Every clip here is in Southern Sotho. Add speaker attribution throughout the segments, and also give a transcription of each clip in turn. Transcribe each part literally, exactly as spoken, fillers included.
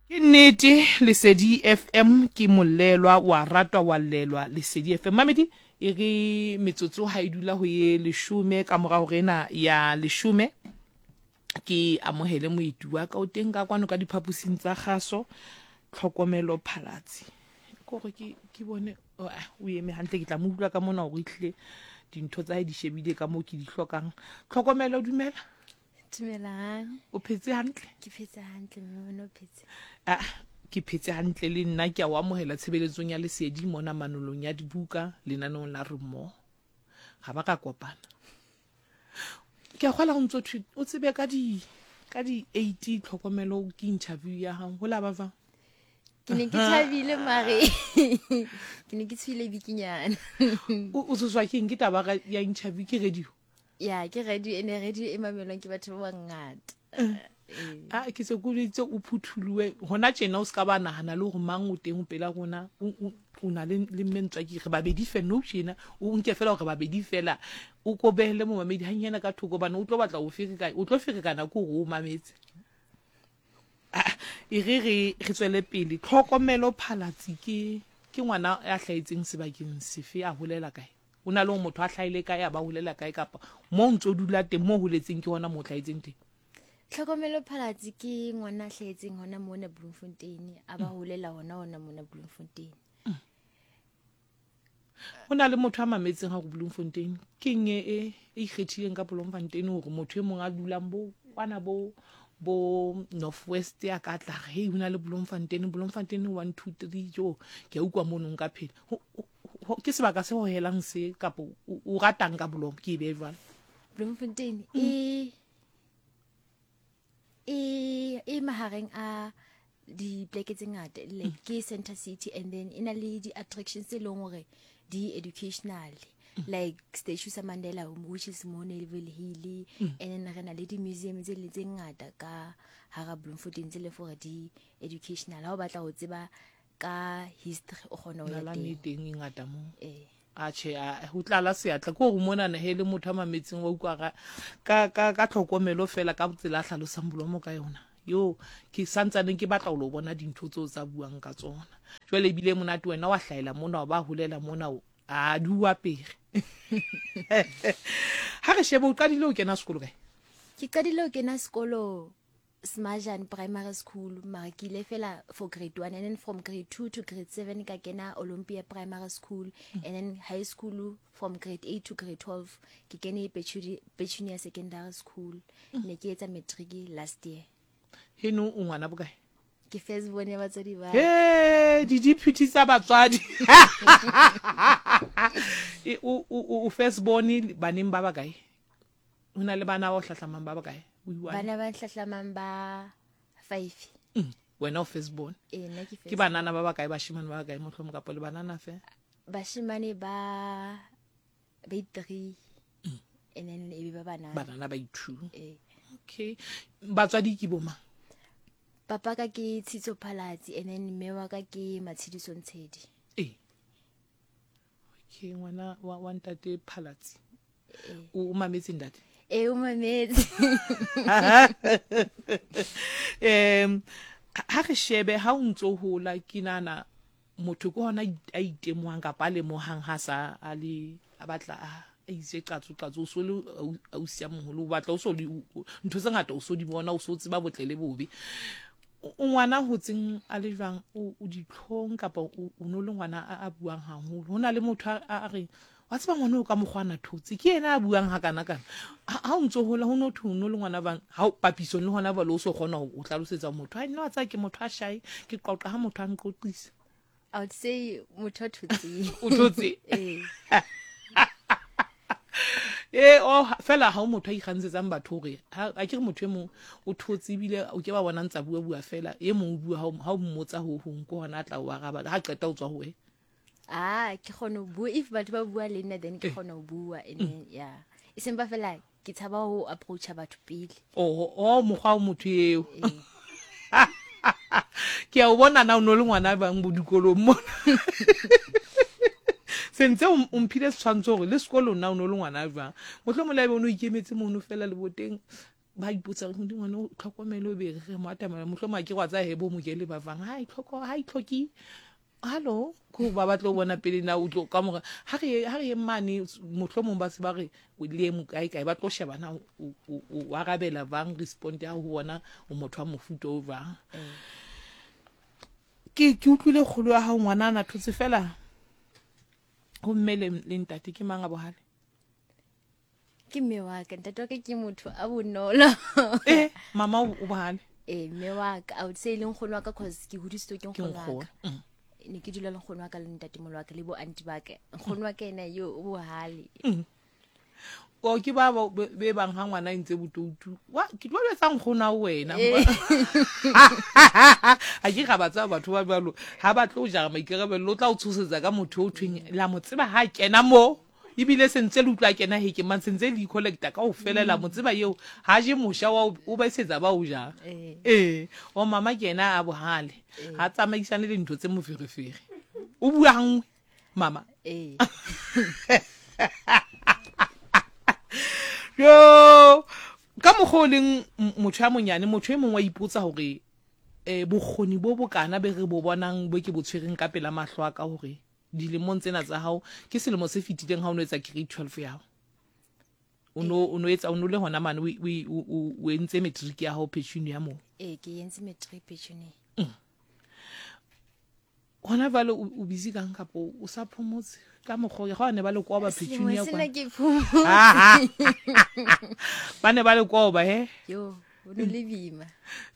Speaker 1: Ke nnete, Lesedi F M ke molelwa wa ratwa wa llelwa Lesedi F M. Mamedi e re metsotso ha e dula ho ye leshome ka mora hore ena ya leshome ke amohele moeti wa ka o teng ka kwano ka diphaposing tsa kgaso, Tlhokomelo Phalatsi. Ke hore ke, ke bone, oh, ah, o eme hantle, ke tla mo utlwa ka mona hore ehlile dintho tsa hae di shebile ka moo ke di hlokang. Tlhokomelo, dumela.
Speaker 2: Dumelang.
Speaker 1: O phetse hantle?
Speaker 2: Ke phetse hantle, mme wena o phetse?
Speaker 1: Ah, ke phetse hantle le nna, ke a o amohela tshebeletsong ya Lesedi mona manolong ya dibuka lenaneong la Re Mmoho. Ga ba ka kopana. Ke a kgolwa ho ntso thwe o tsebe ka di, ka di eight Tlhokomelo ke interview ya hao. Ho la ba jwang?
Speaker 2: Ke ne ke thabile mare. Ke ne ke tshohile bikinyana.
Speaker 1: O, o tshoswa ke eng? Ke taba ya interview, ke radio?
Speaker 2: Ya, ke radio, e ne radio e mamelwang ke batho ba bangata.
Speaker 1: Eh.
Speaker 2: Eh.
Speaker 1: Ah, ke se ke itse o phuthuloe. Hona tjena o ska ba nahana le hore mang o teng pela rona. O, o, o na le, le mme Ntswaki, re babedi fela, nou tjena. O nke fela hore babedi fela. O ko behele momamedi hanyane ka thoko hobane o tlo batla ho ferekana, o tlo ferekana ke hore o mametse. Ah, e re re, re tswele pele. Tlhokomelo Phalatsi ke, ke ngwana ya hlahetseng sebakeng sefe, a holela kae? O na le hore motho a hlahile kae, a ba holela kae, kapa mo ntso dula teng, mo holetseng ke hona mo hlahetseng teng?
Speaker 2: Tlhokomelo Phalatsi ke ngwana a hlahetseng hona mona Bloemfontein, a ba
Speaker 1: Mm.
Speaker 2: holela hona hona mona Bloemfontein.
Speaker 1: Mm. Ho na le motho a mametseng ha go Bloemfontein, ke eng e, e, e ikgethileng ka Bloemfontein hore motho e mong a dulang bo kwana bo, bo North West a ka tla re, hei, ho na le Bloemfontein, Bloemfontein one two three, jo, ke a utlwa mono nka phela. Ho, ho, ho, ke sebaka se hohelang se, kapa o, o ratang ka Bloem, ke e behe jwalo?
Speaker 2: Bloemfontein
Speaker 1: Mm.
Speaker 2: e, e, e mahareng a dipleke tse ngata, like
Speaker 1: Mm.
Speaker 2: ke Center City, and then e na le di-attractions tse leng hore di educational,
Speaker 1: Mm.
Speaker 2: like statue sa Mandela, which is mo Neville Hill,
Speaker 1: Mm.
Speaker 2: and then re na le di-museum tse le tse ngata ka hara Bloemfontein tse leng hore di educational. Ha o batla ho tseba ka history o kgona ho ya
Speaker 1: Nalane
Speaker 2: teng.
Speaker 1: teng e ngata moo.
Speaker 2: Eh.
Speaker 1: Atjhe, a, ho tlala seatla ke hore mona ne he le motho a mametseng wa utlwa ka, ka, ka, ka tlhokomelo fela ka tsela a hlalosang Bloem ka yona. Yo, ke santsaneng ke batla ho lo bona dintho tseo tsa buang ka tsona. Jwale ebile monate wena wa hlahela mona, wa ba holela mona, o, a di o apere. Ha re shebe, o qadile ho kena sekolo kae?
Speaker 2: Ke qadile ho kena sekolo Smajan Primary School, mara ke ile fela for grade one, and then from grade two to grade seven ka kena Olympia Primary School,
Speaker 1: Mm.
Speaker 2: and then high school from grade eight to grade twelve ke kene Petunia, Petunia Secondary School.
Speaker 1: Mm.
Speaker 2: Ne ke etsa matric last year.
Speaker 1: Heno o ngwana bokae?
Speaker 2: Ke first born ya batswadi ba.
Speaker 1: He, di deputy tsa batswadi. E, o, o, o, o first born baneng ba bakae? Ho na le bana ba o hlahlamang ba bakae? O iwane?
Speaker 2: Bana ba hlahlamang ba five.
Speaker 1: Mm. Wena o first born.
Speaker 2: Eh, nna ke first
Speaker 1: Ke banana ba bakae, bashemane ba bakae mohlomong, kapa le banana fe?
Speaker 2: Bashemane ba, ba three.
Speaker 1: Mm.
Speaker 2: And then e be ba banana.
Speaker 1: Banana ba two.
Speaker 2: Eh.
Speaker 1: Okay. Batswadi ke bo mang?
Speaker 2: Papa ka ke Tshitso Phalatsi, and then mme wa ka ke Matshidiso Ntshedi.
Speaker 1: Eh. Okay, ngwana wa, wa ntate Phalatsi.
Speaker 2: Eh.
Speaker 1: O, o mametse ntate?
Speaker 2: Eh, o mametse.
Speaker 1: Em, ha re shebe ha o ntso hola, ke nahana motho ke hona a itemohang kapa a lemohang ha sa a le, a batla a, a itse qatso, qatso, o so le au-, ausi ya moholo, o batla o so le, o, o, ntho tse ngata o so di bona, o so tseba botle le bobe. O, o ngwana hotseng a le jwang, o, o ditlhong kapa o, o no le ngwana a, a buang haholo? Ho na le motho a, a, a reng, wa tseba ngwana o ka mokgwa ana thotse, ke yena a buang hakana kana. Ha, ha o ntso hola, ho no thwe o no le ngwana bang, ha o papisong le hona jwale o so kgona ho, ho hlalosetsa motho, hai, nna wa tseba ke motho a shy, ke qoqa ha motho a nqoqisa.
Speaker 2: I would say motho a thotseng.
Speaker 1: O thotse?
Speaker 2: Eh.
Speaker 1: Eh, oh, fela ha o motho a ikgantshetsang batho hore, ha, a ke re motho e mong o thotse ebile o ke ba bona ntsa bua bua fela, e mong o bua ha o, ha o mmotsa ho hong, ke hona a tla o araba, ha qeta o tswa ho wena.
Speaker 2: Ah, ke kgona ho bua. If batho ba bua le nna, then ke
Speaker 1: Eh.
Speaker 2: kgona ho bua, and
Speaker 1: Mm.
Speaker 2: then, yeah. E seng ba fela ke tshaba ho approacha batho pele.
Speaker 1: Oh, oh, mokgwa wa motho eo.
Speaker 2: Eh.
Speaker 1: Ke a o bona na o no le ngwana bang bo dikolong mona. Sentse o, o mphile setshwantsho hore le sekolong na o no le ngwana jwang. Mohlomong le ha ebe o no ikemetse mono fela leboteng, Ba ipotsa gore ngwana o tlhokomele o be re mo atamela mohlomong a ke wa tsa hebo mo ke le ba bang ha e tlhoko ha e tlhoki hallo ko ba batlo bona pele na o tlo ka mora ha re ha re mane mohlomong ba se ba re o le mo kae kae ba tlo sheba na o o arabela bang respond ya ho bona o motho wa mofuta o jwang. Ke ke utlwile kgolo ya hao ngwana ana thotse fela ho mme le ntate ke mang a bohale?
Speaker 2: Ke mme wa ka, ntate wa ka ke motho a bonolo.
Speaker 1: Eh mama o bohale?
Speaker 2: Eh mme wa ka, I would say le nkgono wa ka cause ke hodisitswe ke nkgono wa ka. Ne ke dula le nkgono wa ka le ntatemolo wa ka le bo aunty ba ka. Nkgono wa ka ena yo o bohale.
Speaker 1: O ke ba be bang ha ngwana ntse botoutu. Wa ke tlo betsa nkgono wa wena. A ke ga batsa batho ba jwalo ha ba tlo jara maikarabelo o tla o tshosetsa ka motho o thweng la mo tseba ha kena mo. Ebile sentse le utlwa kena he ke mang sentse le collecta ka o felela mo tseba eo ha je mosha wa o ba isetsa ba o ja. Eh o mama ke ena a bohale ha tsamaisane le ntho tse moferefere. O bua hangwe mama.
Speaker 2: Eh
Speaker 1: yo ka mokgo leng motho ya monyane motho e mongwe wa ipotsa hore eh bokgoni bo bokana be re bo bonang bo ke bo tshwereng ka pela mahlo a ka hore dilemong tsena tsa hao ke selemo se fetileng ha o no etsa grade twelve ya hao o no o no etsa o no le hona mane o o o entse matric ya hao Petunia ya mo.
Speaker 2: Eh ke entse matric Petunia.
Speaker 1: Hona vale o busy kang kapo o sa phomotse ka mokgo ga ne ba le kwa ba Petunia
Speaker 2: kwa sena ke phomotse
Speaker 1: ba ne ba le kwa ba he
Speaker 2: yo o no le bima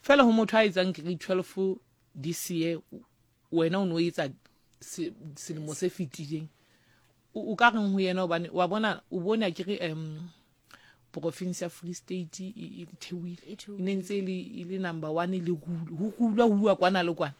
Speaker 1: fela ho motho a etsang grade twelve this year wena o no etsa selemo se fetileng o ka reng ho yena hobane wa bona o bona ke re em province ya Free State e theohile e ne ntse le le number one le ho kulwa huwa kwana le kwana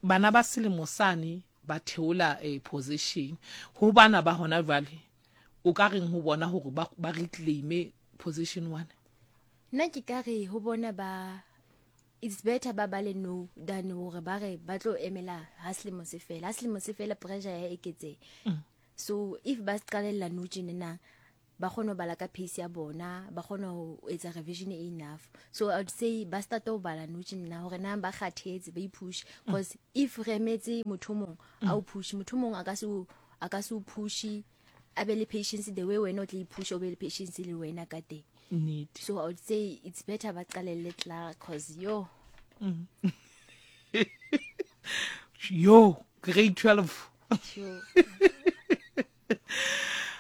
Speaker 1: bana ba selemo sane ba theola a position ho bana ba hona jwale o ka reng ho bona hore ba ba reclaim position one?
Speaker 2: Nna ke ka re ho bona ba it's better ba bale no than hore ba re ba tlo emela ha selemo se fela. Ha selemo se fela pressure ya eketse. So if ba qalella no tjena na ba kgone ho bala ka pace ya bona, ba kgone ho etsa revision enough. So I would say ba start ho bala no tjena hore na ba kgathetse ba ipush because if re emetse motho mong a o push motho mong a ka se a ka se o push a be le patience the way wena o tla ipush o be le patience le wena ka teng.
Speaker 1: Nnete.
Speaker 2: So I would say it's better ba qalelle tla cause yo
Speaker 1: mm. Yo grade twelve.
Speaker 2: Sure.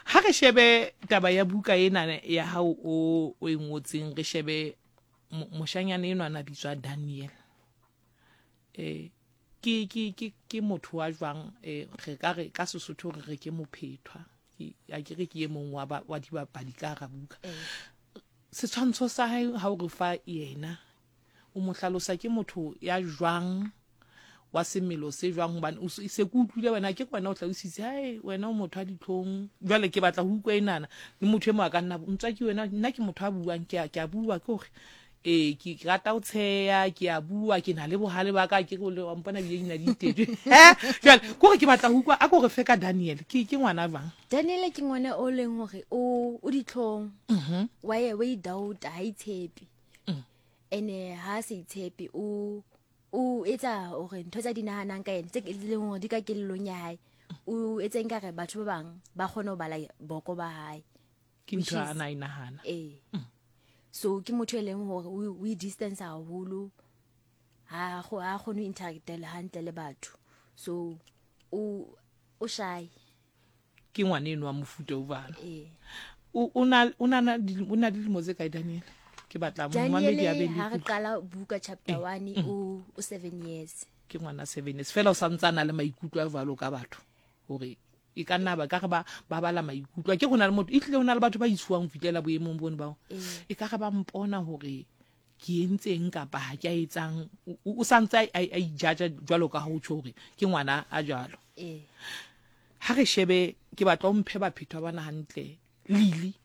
Speaker 1: Ha re shebe taba ya buka ena ya hao o o e ngotseng re shebe moshanyana enwa na bitswa Daniel. Eh ke ke ke ke motho wa jwang eh re ka re ka Sesotho re re ke mophethwa ke a ke re ke e mong wa wa dibapadi ka ra buka. Setshwantsho sa hae ha o re fa yena o mo hlalosa ke motho ya jwang wa semelo se jwang hobane o se ke utlwile wena ke wena o hlalositse hai wena o motho a ditlhong jwale ke batla ho utlwa enana le motho e mo a ka nna ntswa ke wena nna ke motho a buang ke a ke a bua ke hore eh ke rata ho tsheya ke a bua ke na le bohale ba ka ke go le wa mpona bile dina di itetswe eh jwale ke hore ke batla ho utlwa a ko re fe ka Daniel ke ke ngwana jwang?
Speaker 2: Daniel ke ngwana o leng hore o o ditlhong
Speaker 1: mhm
Speaker 2: wa ye wa idoubt ha itshepe ene ha se itshepe o o etsa hore ntho tsa di nahanang ka yena tse leng hore di ka kellong ya hae o etsa nkare batho ba bang ba kgone ho bala boko ba hae
Speaker 1: ke ntho a na inahana
Speaker 2: eh so ke motho e leng hore o i distance haholo ha go ha kgone ho interact le hantle le batho so o o shy
Speaker 1: ke ngwana eno wa mofuta o bana
Speaker 2: eh
Speaker 1: o na o na o na dilemo tse kae Daniel? Ke batla momamedi a be le
Speaker 2: ha re qala buka chapter one o o seven years
Speaker 1: ke ngwana seven years fela o santsana le maikutlo a jwalo ka batho hore e ka nna ba ka re ba ba bala maikutlo ke gona le motho e tlile hona le batho ba itshuwang fitlela boemong bone bao e ka re ba mpona hore ke entseng kapa ha ke a etsang o santse a ijaja jwalo ka ho tjho hore ke ngwana a jwalo.
Speaker 2: Eh
Speaker 1: ha re shebe ke batla o mphe baphethwa bana hantle Lily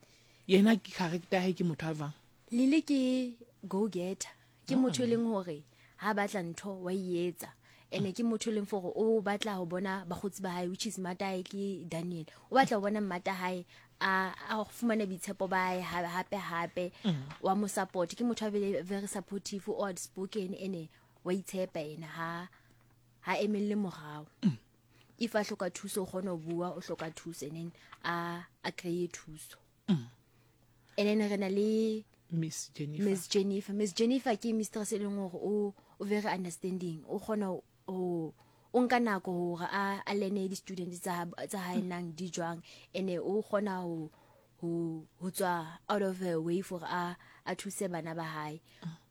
Speaker 1: yena ke character hae ke motho a jwang?
Speaker 2: Lily ke go getter ke motho e leng hore ha batla ntho wa e etsa ene ke motho e leng for o batla ho bona bagotsi ba hae which is mata hae ke Daniel o batla ho bona mmata hae a a fumane boitshepo ba hae ha- hape hape wa mo support. Ke motho a very, very supportive, o outspoken, ene wa itshepa ena, ha ha emelle morao. If a hloka thuso, o kgona ho bua o hloka thuso, and then a a kry-e thuso. And then re na le
Speaker 1: Miss Jennifer.
Speaker 2: Miss Jennifer. Miss Jennifer ke mistress e leng hore o o very understanding, o kgona ho o nka nako hore a a learne di-student tsa tsa hae nang di jwang, ene o kgona ho ho ho tswa out of her way for a a thuse bana ba hae.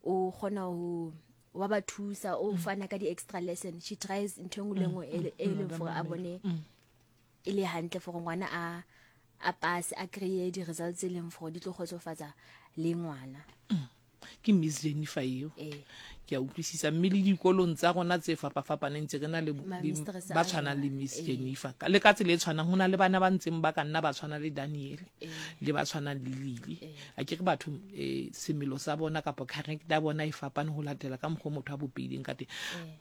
Speaker 2: O kgona ho wa ba thusa, o fana ka di-extra lesson. She tries ntho e nngwe le nngwe e le- e leng for a bone e le hantle for ngwana a a pass, a kry-e di-results tse leng for di tlo kgotsofatsa le ngwana.
Speaker 1: Ke Miss Jennifer eo.
Speaker 2: Ee.
Speaker 1: Ke a utlwisisa. Mme le dikolong tsa rona tse fapafapaneng tse re na le
Speaker 2: Ma-
Speaker 1: le
Speaker 2: mistress
Speaker 1: ba
Speaker 2: a
Speaker 1: tshwanang le
Speaker 2: jwang.
Speaker 1: Miss
Speaker 2: Ee.
Speaker 1: Jennifer. Ka- le ka tsela e tshwanang, ho na le bana ba ntseng ba ka nna ba tshwana le Daniel
Speaker 2: Ee.
Speaker 1: le ba tshwanang le Lily. A ke re batho, eh, semelo sa bona kapa character ya bona e fapane ho latela ka mokgwa o motho a bopehileng ka teng.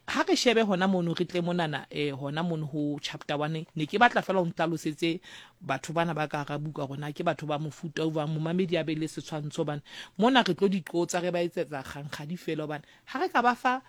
Speaker 1: Ha re shebe hona mono, re tle monana, eh, hona mono ho chapter one, ne ke batla fela o ntlhalosetse batho bana ba ka hara buka rona ke batho ba mofuta o jwang, momamedi a be le setshwantsho, hobane mona re tlo di qotsa, re ba etsetsa kgankgadi fela, hobane ha re ka ba fa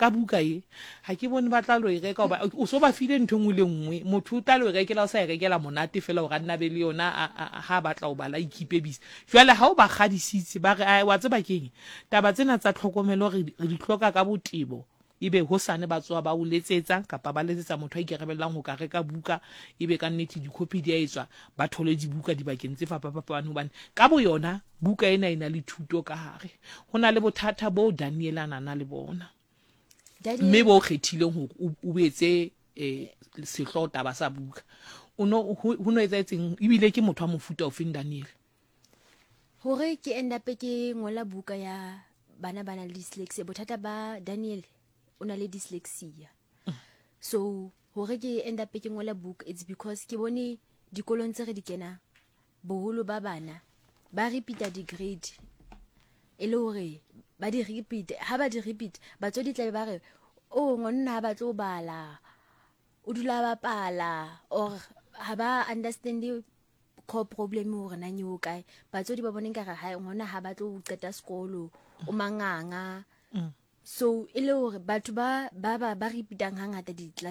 Speaker 1: ka buka e, ha ke bone ba tla lo e reka, hoba o so ba file ntho e nngwe le nngwe. Motho o tla lo e rekela, o sa e rekela monate fela hore a nna be le yona, a- a- a- ha a batla ho bala, a ikeepe busy. Jwale ha o ba kgadisitse, ba re, "Ai, wa tseba keng, taba tsena tsa tlhokomelo re re di hloka ka botebo," ebe hosane ba tsoha ba o letsetsa kapa ba letsetsa motho a ikarabellang ho ka reka buka, ebe ka nnete dikhopi di a etswa, ba thole dibuka dibakeng tse fapafapaneng, hobane ka bo yona buka ena e na le thuto ka hare. Ho na le bothata bo Daniel a nana le bona,
Speaker 2: Daniel-
Speaker 1: mme bo kgethileng hore o o etse eh sehlooho taba sa buka, o no ho ho no etsahetseng, ebile ke motho wa mofuta ofeng Daniel?
Speaker 2: Hore ke end up ke ngola buka ya bana ba nang le dyslexia, bothata ba Daniel, o na le dyslexia. So hore ke end up ke ngola buka, it's because ke bone dikolong tse re di kenang, boholo ba bana ba repeata di-grade, e le hore ba di repeat. Ha ba di repeat, batswadi tlabe ba re, "O ngwanna ha batle ho bala, o dula a bapala," or ha ba understand core problem hore nang e ho kae. Batswadi ba bone nkare ha ngwana ha batle ho qeta sekolo, o manganga. So e le hore batho ba ba ba ba repeatang hangata di